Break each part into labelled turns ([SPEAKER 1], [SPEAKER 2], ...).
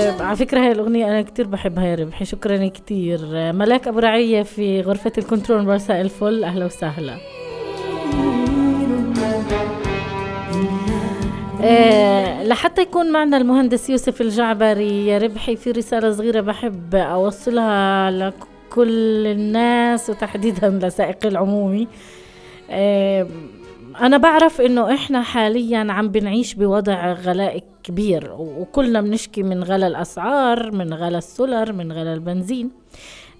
[SPEAKER 1] على فكرة هاي الأغنية أنا كتير بحبها يا ربحي. شكرا كتير. ملاك أبو رعية في غرفة الكنترول برساء الفل، أهلا وسهلا. لحتى يكون معنا المهندس يوسف الجعبري يا ربحي، في رسالة صغيرة بحب أوصلها لكل الناس وتحديدا لسائق العمومي. أنا بعرف إنه إحنا حاليا عم بنعيش بوضع غلاء كبير، وكلنا بنشكي من غلاء الأسعار، من غلاء السولر، من غلاء البنزين.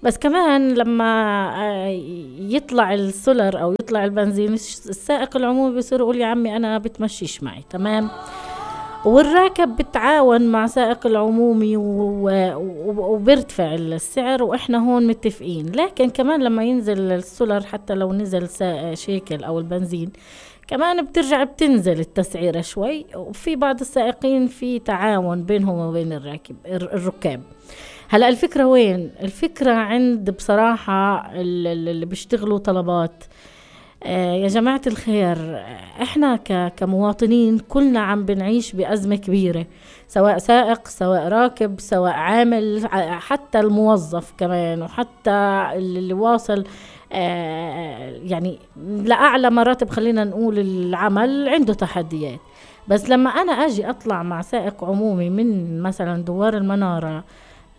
[SPEAKER 1] بس كمان لما يطلع السولر أو يطلع البنزين، السائق العمومي بيصير يقول يا عمي أنا بتمشيش معي، تمام. والراكب بتعاون مع سائق العمومي وبيرتفع السعر، وإحنا هون متفقين. لكن كمان لما ينزل السولر، حتى لو نزل شيكل أو البنزين، كمان بترجع بتنزل التسعيرة شوي. وفي بعض السائقين في تعاون بينهم وبين الركاب. هلأ الفكرة وين؟ الفكرة عند بصراحة اللي بيشتغلوا طلبات. يا جماعة الخير، احنا كمواطنين كلنا عم بنعيش بأزمة كبيرة، سواء سائق، سواء راكب، سواء عامل، حتى الموظف كمان، وحتى اللي واصل يعني لأعلى مراتب، خلينا نقول العمل عنده تحديات. بس لما أنا أجي أطلع مع سائق عمومي من مثلا دوار المنارة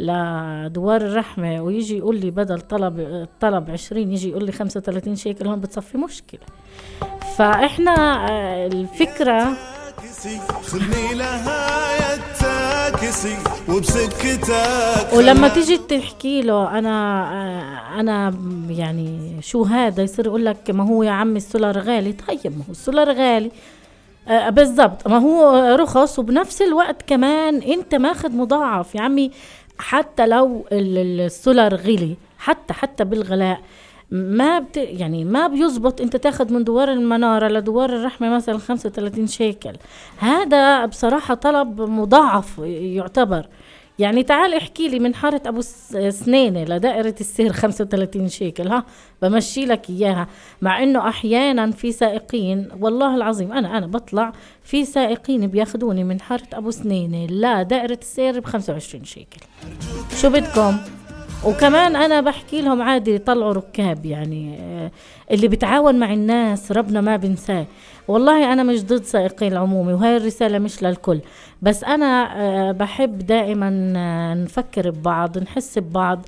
[SPEAKER 1] لدوار الرحمة، ويجي يقول لي بدل طلب 20 يجي يقول لي 35 شيكل، هون بتصفي مشكلة. فإحنا الفكرة ولما تيجي تحكي له أنا يعني شو هذا، يصير يقول لك ما هو يا عمي السولار غالي. طيب ما هو السولار غالي بالضبط، ما هو رخص، وبنفس الوقت كمان انت ماخد مضاعف يا عمي. حتى لو السولار غلي، حتى بالغلاء يعني ما بيزبط انت تاخد من دوار المنارة لدوار الرحمة مثلا 35 شيكل. هذا بصراحة طلب مضاعف يعتبر. يعني تعال احكي لي من حارة أبو سنينة لدائرة السير 35 شيكل، بمشي لك إياها. مع إنه أحيانا في سائقين، والله العظيم أنا بطلع في سائقين بياخدوني من حارة أبو سنينة لا دائرة السير ب25 شيكل. شو بدكم؟ وكمان أنا بحكي لهم عادي طلعوا ركاب، يعني اللي بتعاون مع الناس ربنا ما بنساه. والله أنا مش ضد سائقين العمومي، وهي الرسالة مش للكل، بس أنا بحب دائما نفكر ببعض، نحس ببعض.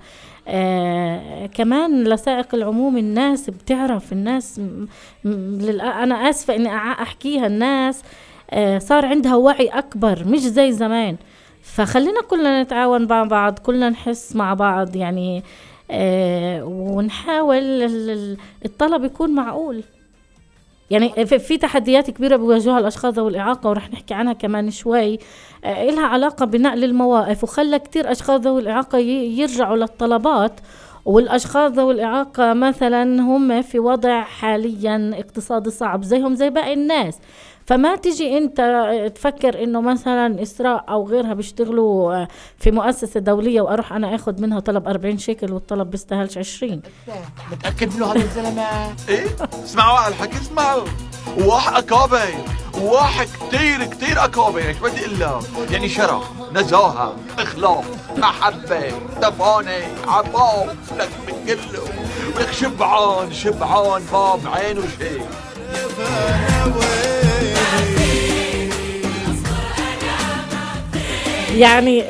[SPEAKER 1] كمان لسائق العمومي الناس بتعرف، الناس أنا آسفة إني أحكيها، الناس صار عندها وعي أكبر مش زي زمان. فخلينا كلنا نتعاون مع بعض، كلنا نحس مع بعض يعني، ونحاول الطلب يكون معقول. يعني في تحديات كبيرة بيواجهها الأشخاص ذوي الإعاقة، ورح نحكي عنها كمان شوي، إلها علاقة بنقل المواقف، وخلى كتير أشخاص ذوي الإعاقة يرجعوا للطلبات. والأشخاص ذوي الإعاقة مثلا هم في وضع حاليا اقتصادي صعب زيهم زي باقي الناس. فما تيجي انت تفكر انه مثلا إسراء او غيرها بيشتغلوا في مؤسسة دولية واروح انا اخد منها طلب 40 شيكل والطلب بيستاهلش 20.
[SPEAKER 2] متأكد له هذا الزلمة؟ ايه اسمعوا على الحكي، اسمعوا. واحد أكابر، واحد كتير أكابر. ايش بدي اقول لك؟ يعني شرف، نزاهة، اخلاق، محبة، دفانة، عفاف، لك من كله، ولك شبعان باب عينه شيء.
[SPEAKER 1] يعني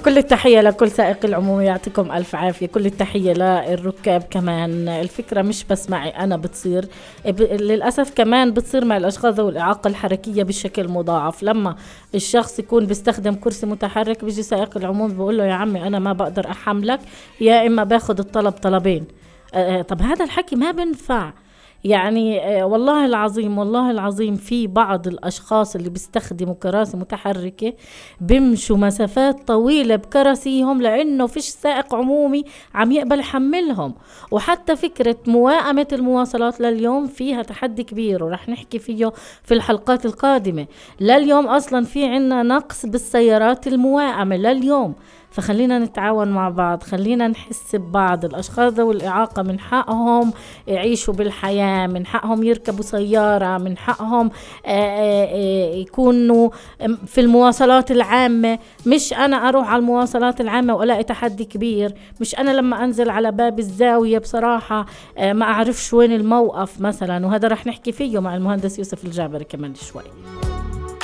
[SPEAKER 1] كل التحية لكل سائق العمومي، يعطيكم ألف عافية. كل التحية للركاب كمان. الفكرة مش بس معي أنا، بتصير للأسف كمان بتصير مع الأشخاص ذوي الإعاقة الحركية بشكل مضاعف. لما الشخص يكون بيستخدم كرسي متحرك، بيجي سائق العمومي بيقول له يا عمي أنا ما بقدر أحملك، يا إما باخد الطلب طلبين. طب هذا الحكي ما بنفع. يعني والله العظيم في بعض الأشخاص اللي بيستخدموا كراسي متحركة بيمشوا مسافات طويلة بكراسيهم، لأنه فيش سائق عمومي عم يقبل يحملهم. وحتى فكرة موائمة المواصلات لليوم فيها تحدي كبير، ورح نحكي فيه في الحلقات القادمة. لليوم أصلا في عنا نقص بالسيارات الموائمة لليوم. فخلينا نتعاون مع بعض، خلينا نحس ببعض. الأشخاص ذوي الإعاقة من حقهم يعيشوا بالحياة، من حقهم يركبوا سيارة، من حقهم يكونوا في المواصلات العامة. مش أنا أروح على المواصلات العامة وألاقي تحدي كبير، مش أنا لما أنزل على باب الزاوية بصراحة ما أعرفش وين الموقف مثلا. وهذا رح نحكي فيه مع المهندس يوسف الجابري كمان شوي.